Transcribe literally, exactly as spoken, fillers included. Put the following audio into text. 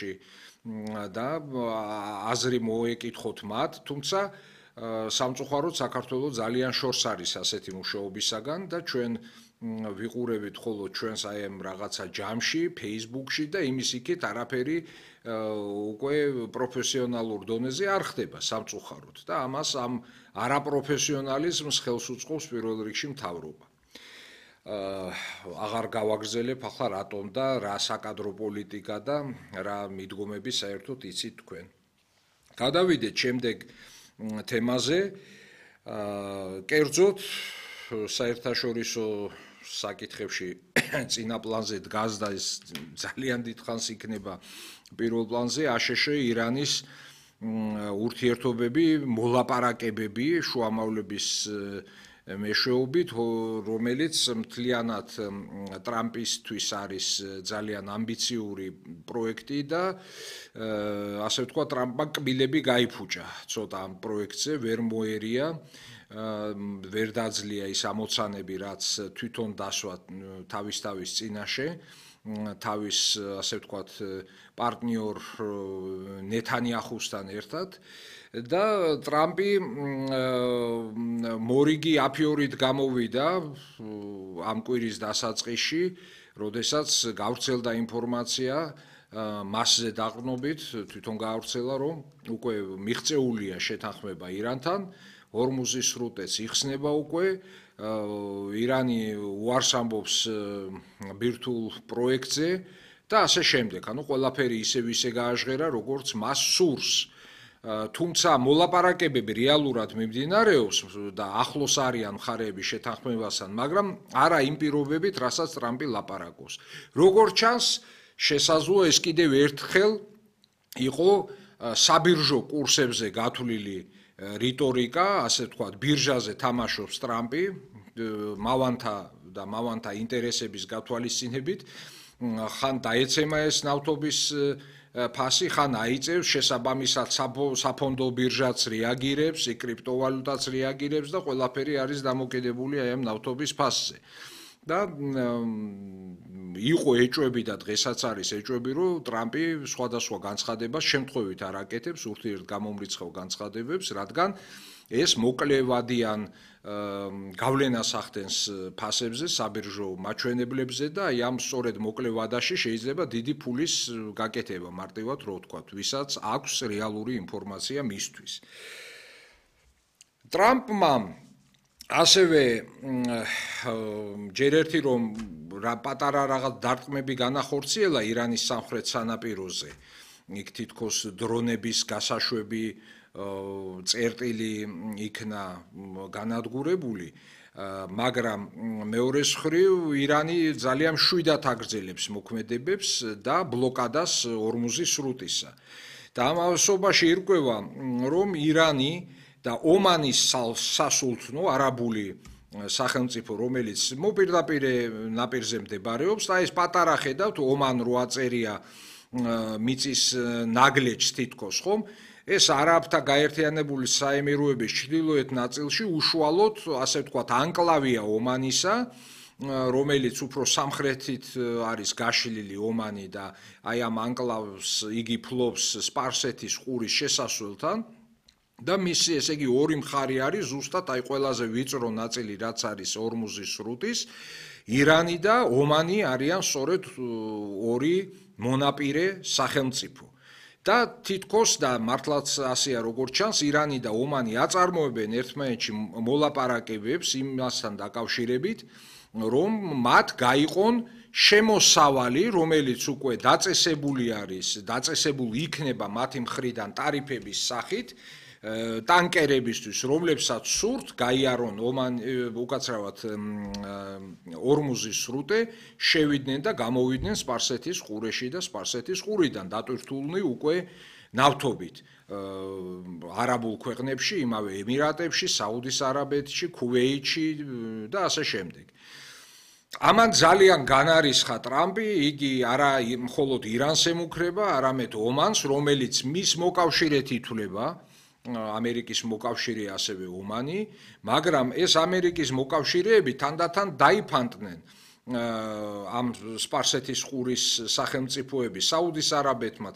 სფეროში და აზრი მოეკითხოთ მათ, თუმცა სამწუხაროდ საქართველოს ძალიან შორს არის ასეთი მუშაობისაგან და ჩვენ ვიყურებით ხოლო ჩვენს აი ამ რაღაცა ჯამში, Facebook-ში და იმის იქით არაფერი უკვე პროფესიონალურ დონეზე არ ხდება სამწუხაროდ და ამას ამ არაპროფესიონალიზმს ხელს უწყობს პირველ რიგში მთავრობა. აღარ გავაგრძელებ ახლა რატომ და რა საკადრო პოლიტიკა და რა მიდგომები საერთოდ იცით თქვენ. გადავიდეთ შემდეგ თემაზე. კერძოდ საერთაშორისო საკითხებში წინა პლანზე დგას და ეს ძალიან დიდხანს იქნება პირველ პლანზე აშშ ირანის ურთიერთობები, მოლაპარაკებები შუამავლების მეშვეობით, რომელიც მთლიანად ტრამპისთვის არის ძალიან ამბიციური პროექტი და ასე ვთქვათ, ტრამპმა კბილები გაიფუჭა ცოტა ამ პროექტზე, ვერ მოერია, ვერ დაძლია ის ამოცანები, რაც თვითონ დასვა თავის-თავის წინაშე, თავის ასე ვთქვათ, პარტნიორ ნეთანიაჰუსთან ერთად. და ტრამპი მორიგი აფიორით გამოვიდა ამ კვირის დასაწყისში, როდესაც გავრცელდა ინფორმაცია მასზე დაყრდნობით, თვითონ გავრცელა, რომ უკვე მიღწეულია შეთანხმება ირანთან, ჰორმუზის სრუტეც იხსნება უკვე, ირანი უარს ამბობს ბირთვულ პროექტზე და ასე შემდეგ. ანუ ყველაფერი ისევ ისე გააჟღერა, როგორც მას სურს. თუმცა მოლაპარაკებები რეალურად მიმდინარეობს და ახლოს არიან მხარეები შეთანხმებასთან, მაგრამ არა იმ პირობებით, რასაც ტრამპი ლაპარაკობს. როგორც ჩანს, შესაძლოა ეს კიდევ ერთხელ იყო საბირჟო კურსებზე გათვლილი რიტორიკა, ასე ვთქვათ, ბირჟაზე თამაშობს ტრამპი, მავანთა და მავანთა ინტერესების გათვალისწინებით, ხან დაეცემა ეს ნავთობის ფასი, ხან აიწევს, შესაბამისად საფონდო ბირჟაც რეაგირებს, კრიპტოვალუტაც რეაგირებს და ყველაფერი არის დამოკიდებული აი ამ ნავთობის ფასზე. და იყო ეჭვები და დღესაც არის ეჭვები, რომ ტრამპი სხვადასხვა განცხადებას შემთხვევით არ აკეთებს, ურთიერთგამომრიცხავ განცხადებებს, რადგან ეს მოკლევადიან გავლენას ახდენს ფასებზე, საბირჟო მაჩვენებლებზე და აი ამ სწორედ მოკლევადაში შეიძლება დიდი ფულის გაკეთება, მარტივად რო ვთქვათ, ვისაც აქვს რეალური ინფორმაცია მისთვის. ტრამპმა ასევე ჯერ ერთი რომ პატარა რაღაც დარტყმები განახორციელა ირანის სამხრეთ სანაპიროზე, იქ თითქოს დრონების გასაშვები წერტილი იქნა განადგურებული, მაგრამ მეორე მხრივ ირანი ძალიან მშვიდად აგრძელებს მოქმედებებს და ბლოკადას ჰორმუზის სრუტისა. და ამ ასობაში ირკვევა, რომ ირანი და ომანის სასულთნო არაბული სახელმწიფო, რომელიც მოპირდაპირ ნაპირზე მდებარეობს და ეს პატარა ხედავთ, ომან რო აწერია მიწის ნაგლეჯს თითქოს, ხომ? ეს არაბთა გაერთიანებული საემიროების ჩრდილოეთ ნაწილში უშუალოდ, ასე ვთქვათ, ანკლავია ომანისა, რომელიც უფრო სამხრეთით არის გაშლილი ომანი და აი ამ ანკლავს იგი ფლობს სპარსეთის ყურის შესასვლელთან. და მისი ესე იგი ორი მხარე არის ზუსტად აი ყველაზე ვიწრო ნაწილი, რაც არის ჰორმუზის სრუტის, ირანი და ომანი არიან სწორედ ორი მონაპირე სახელმწიფო. და თითქოს და მართლაც ასეა როგორც ჩანს, ირანი და ომანი აწარმოებენ ერთმანეთში მოლაპარაკებებს იმასთან დაკავშირებით, რომ მათ გაიყონ შემოსავალი, რომელიც უკვე დაწესებული არის, დაწესებული იქნება მათი მხრიდან ტარიფების სახით, ტანკერებისთვის, რომლებსაც სურთ გაიარონ ომან უკაცრავად ჰორმუზის სრუტე, შევიდნენ და გამოვიდნენ სპარსეთის ყურეში და სპარსეთის ყურიდან, დატვირთულნი უკვე ნავთობით არაბულ ქვეყნებში, იმავე ემირატებში, საუდის არაბეთში, ქუვეითში და ასე შემდეგ. ამან ძალიან განარისხა ტრამპი, იგი არა მხოლოდ ირანს ემუქრება, არამედ ომანს, რომელიც მის მოკავშირედ ითვლება, ამერიკის მოკავშირე ასევე ომანი, მაგრამ ეს ამერიკის მოკავშირეები თანდათან დაიფანტნენ ამ სპარსეთის ყურის სახელმწიფოები საუდის არაბეთმა